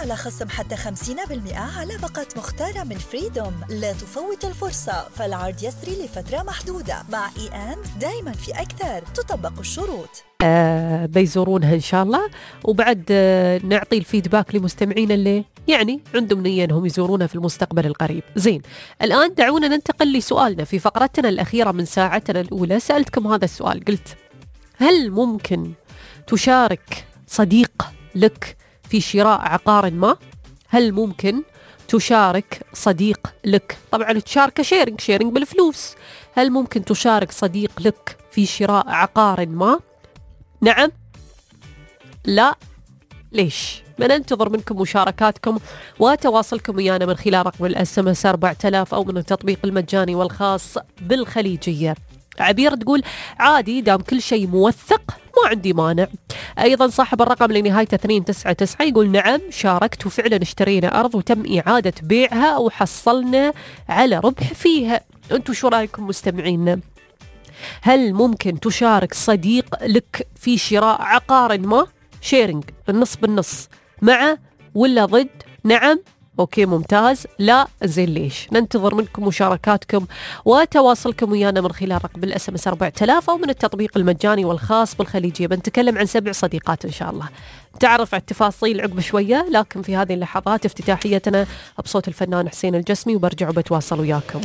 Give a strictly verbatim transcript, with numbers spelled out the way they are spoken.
على خصم حتى خمسين بالمئة على باقة مختارة من فريدوم. لا تفوت الفرصة، فالعرض يسري لفترة محدودة. مع إي أند دايما في أكثر، تطبق الشروط. آه بيزورونها إن شاء الله. وبعد آه نعطي الفيدباك لمستمعين اللي يعني عندهم نية أنهم يزورونها في المستقبل القريب. زين، الآن دعونا ننتقل لسؤالنا في فقرتنا الأخيرة من ساعتنا الأولى. سألتكم هذا السؤال، قلت هل ممكن تشارك صديق لك في شراء عقار ما؟ هل ممكن تشارك صديق لك، طبعا تشارك شيرنج شيرنج بالفلوس، هل ممكن تشارك صديق لك في شراء عقار ما؟ نعم؟ لا؟ ليش؟ بننتظر منكم مشاركاتكم وتواصلكم ويانا من خلال رقم الاس ام اس أربعة آلاف أو من التطبيق المجاني والخاص بالخليجية. عبير تقول عادي دام كل شيء موثق ما عندي مانع. أيضا صاحب الرقم اللي نهايته اثنين تسعة تسعة يقول نعم شاركت وفعلا اشترينا أرض وتم إعادة بيعها وحصلنا على ربح فيها. أنتوا شو رأيكم مستمعينا؟ هل ممكن تشارك صديق لك في شراء عقار ما؟ شيرنج النص بالنص، مع ولا ضد؟ نعم؟ أوكي ممتاز. لا؟ زين ليش؟ ننتظر منكم مشاركاتكم وتواصلكم ويانا من خلال رقم الاس ام اس أربعة آلاف أو من التطبيق المجاني والخاص بالخليجية. بنتكلم عن سبع صديقات إن شاء الله، تعرف على التفاصيل عقب شوية، لكن في هذه اللحظات افتتاحيتنا بصوت الفنان حسين الجسمي وبرجع وبتواصل وياكم.